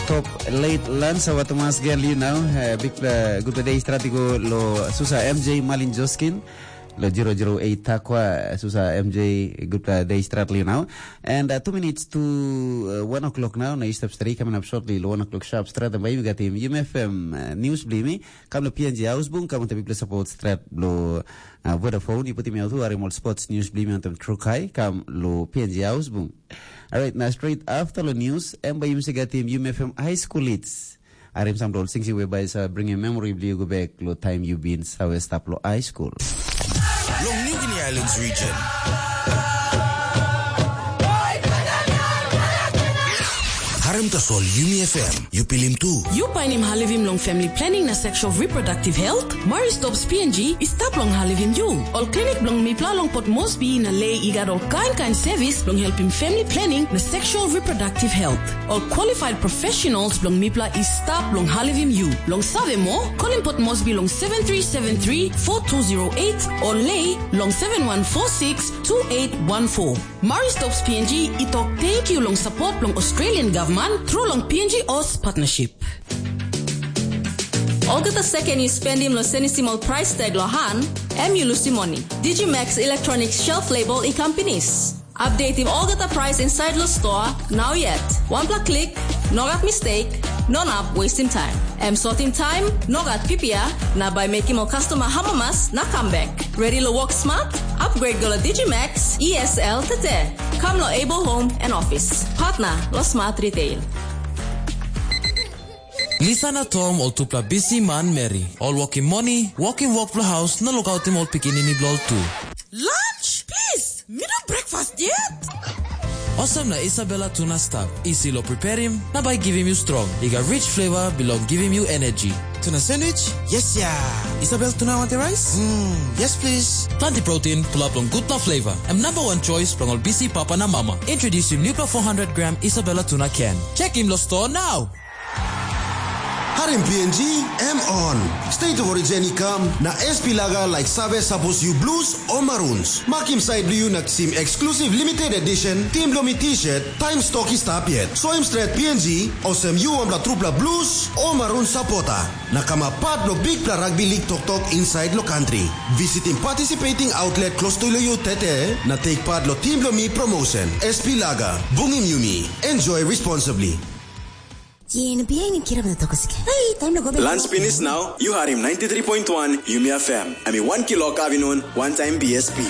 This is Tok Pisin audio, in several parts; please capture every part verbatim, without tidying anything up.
Top late lunch our Thomas Gel, you know, uh, big uh, good day strat i go lo Susa M J Malin Joskin, lo zero zero eight Takwa, Susa M J, good uh, day strat, you know. And uh, two minutes to uh, one o'clock now, na step straight coming up shortly, lo one o'clock sharp strat, and by you got him, U M F M uh, news blimi, come to P N G house boom, come to big support strat, lo uh, Vodafone, you put him out, who are more sports news blimi on them truck high, come lo P N G house boom. Alright, na straight after lo news, em bai yumi sega tim U M F M High School Hits. Arim sam dol singsi we bai sa bring your memory bli go back lo time you been sa we stap lo high school. Long New Guinea Islands region. Harim tasol Yumi F M, you pilim tu. You painim halivim long family planning na sexual reproductive health? Mari Stops P N G i stap long halivim yu. Ol klinik bilong mipela long Port Moresby na Lei i gat ol kain kain sevis bilong helpim family planning na sexual reproductive health. Ol qualified professionals bilong mipela i stap long halivim yu. Long save moa, kolim Port Moresby long seven three seven three four two zero eight o Lei long seven one four six two eight one four. Mari Stops P N G i tok tenkyu long sapot bilong Australian Government tru long P N G Os Partnership. Olgeta seken yu spendim long senisim ol price tag lo han, em yu lusim moni. Digimax Electronic Shelf Label i kam pinis. Updatim olgeta price inside lo store, now yet. Wanpela klik, no gat mistake, no nap wastim time. Em sotim time, no gat pipia, na bai mekim ol customer hamamas na comeback. Ready lo work smart? Upgrade go lo Digimax E S L tete. Come lo Able Home and Office. Partner lo Smart Retail. Lisa na Tom ol tupela bisi manmeri. Ol wokim moni, wokim wok bilong haus na lukautim ol pikinini bilong ol tu. Lunch, please. Mi no breakfast yet. Olsem na Isabella tuna stap. Isi lo preparim, na bai givim yu strong. I gat rich flavor bilong givim yu energy. Tuna sandwich? Yes ya. Isabel tuna want the rice? Mm, yes please. Planti protein, pulap long gutpela flavor. Em number one choice bilong ol bisi papa na mama. Introducing nupela four hundred gram Isabella tuna can. Check him lo store now. Harim P N G, em on. State of Origin i kam, na S P Laga like save sapos yu blues o maroons. Makim side yu na kisim exclusive limited edition Team Lomi t-shirt, time stock i stap yet. Soim stret P N G, olsem yu wanpela trupela blues o maroon supporter. Na kamap part lo bikpela rugby league toktok inside lo country. Visitim participating outlet close to lo yu tete, na take part lo Team Lomi promotion. S P Laga, bungim yumi. Enjoy responsibly. Yen bihain kirap na tokos ke. Hey, time lo go back. Lunch finish now. You harim ninety-three point one Yumi F M. Ami one kilo kavinun, one time B S P.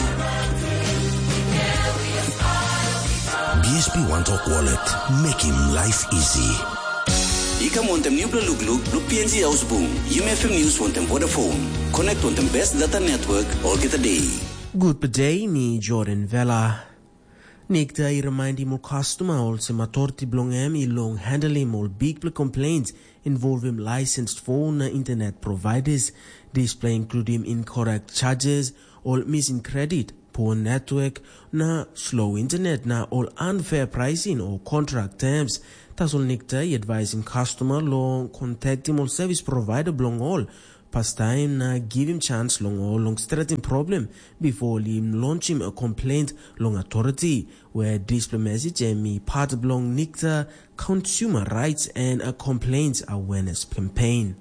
B S P One Talk Wallet. Making life easy. I kam wantem nupela lukluk blo P N G Haus Bung, Yumi F M News wantem Vodafone. Connect wantem best data network olgeta day. Gutpela day, mi Jordan Vela. Nikta i rimaindim ol kastoma olsem authority bilong em i long handlim ol bikpela complaints involvim licensed phone na internet providers. Dispela includim incorrect charges, ol missing credit, poor network, na slow internet, na ol unfair pricing o contract terms. Tasol Nikta i advisim kastoma long kontaktim ol service provider bilong ol pastaim na givim chance long ol long stretim problem before ol i launchim a complaint long authority, where dispela message em i part bilong Nikta Consumer Rights and a Complaints Awareness Campaign.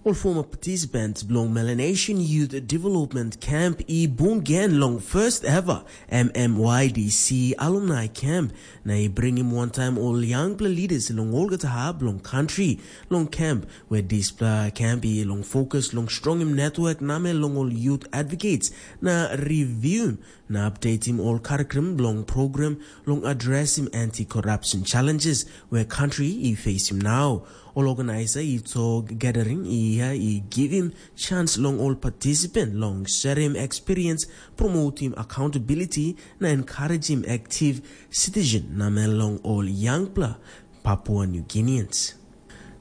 Ol former participants bilong Melanesian Youth Development Camp i bung gen long first ever M M Y D C Alumni Camp, na i bringim wantaim ol yangpela leaders long olgeta hap bilong country long camp, where dispela camp i long focus long strongim network namel long ol youth advocates na reviewim na updatim ol curriculum bilong program long addressing anti-corruption challenges where country i facing now. Ol organizer i tok gathering i ia i givim chance long ol participant long sharing experience, promoting accountability, na encouraging active citizen namel long ol yangpela Papua New Guineans.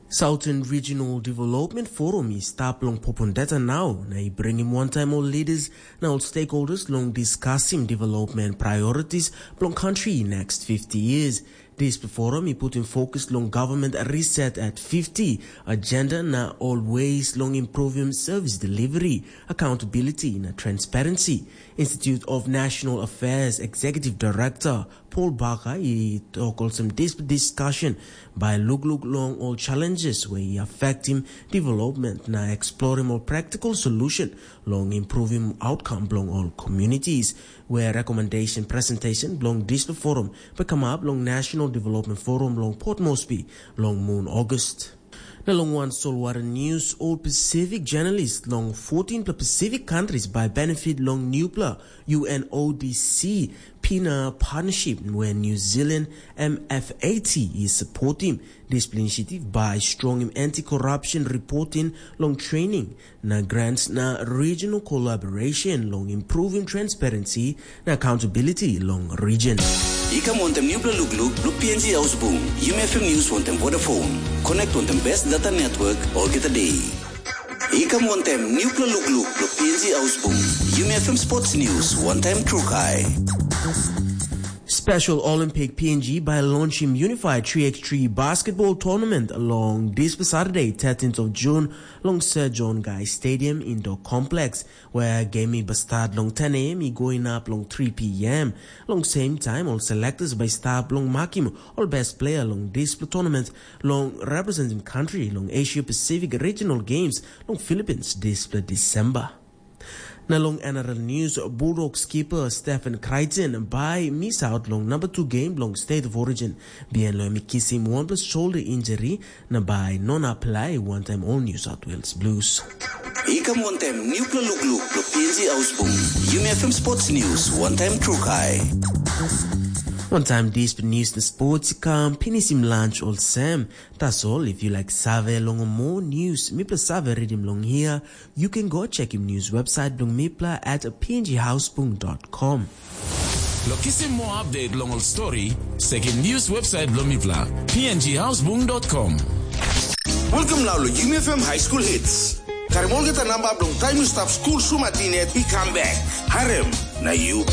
Southern Regional Development Forum i stap long Popondetta now, na i bringim wantaim ol leaders na ol stakeholders long discussing development priorities bilong country next fifty years. Dispela forum i putim fokus long government reset at fifty, agenda na always long improving service delivery, accountability na transparency. Institute of National Affairs Executive Director Paul Baker i tok olsem, dispela discussion bai lukluk long all challenges where i affecting development na exploring more practical solution long improving outcome belong all communities, where recommendation presentation belong dispela forum bai come up long National Development Forum long Port Moresby long mun August. Na long wan solwara news, all Pacific journalist long fourteen pla Pacific countries by benefit long newpla U N O D C pina partnership where New Zealand M F A T is supporting. Dispela initiative by stronging anti-corruption reporting long training na grants na regional collaboration long improving transparency na accountability long region. I kam wantem newpela lukluk blo P N G Ausbung, Yumi F M News wantem Vodafone. Connect wantem best data network olgeta day. I kam wantem newpela lukluk blo P N G Ausbung, Yumi F M Sports News, one time Trukai. Special Olympic P N G by launching Unified three x three basketball tournament along this Saturday, thirteenth of June, along Sir John Guy Stadium Indoor Complex, where game i ba start long ten a m i going up long three p m. Long same time, all selectors by start long marking all best player long this tournament long representing country long Asia Pacific Regional Games long Philippines this December. Na long N R L news, Bulldog skipper Stephen Crichton bai miss out long number two game long State of Origin. Bihain long em i kisim wanpela shoulder injury, na bai non apply wantaim ol New South Wales Blues. I kam wantem newpela lukluk blo P N G Ausbung. Yumi F M Sports News, one time Trukai. Wantaim dispela news na sports i kam pinisim lunch olsem. Tasol, if you like save long more news, mipela save redim long here, you can go check him news website bilong mipela at pnghausbung.com. Lo kisim more update long ol story, check him news website bilong mipela, pnghausbung.com. Welcome now lo Yumi F M High School Hits. Karim olgeta namba bilong taim yu stap skul sumatin yet i kam bek. Harem, na yu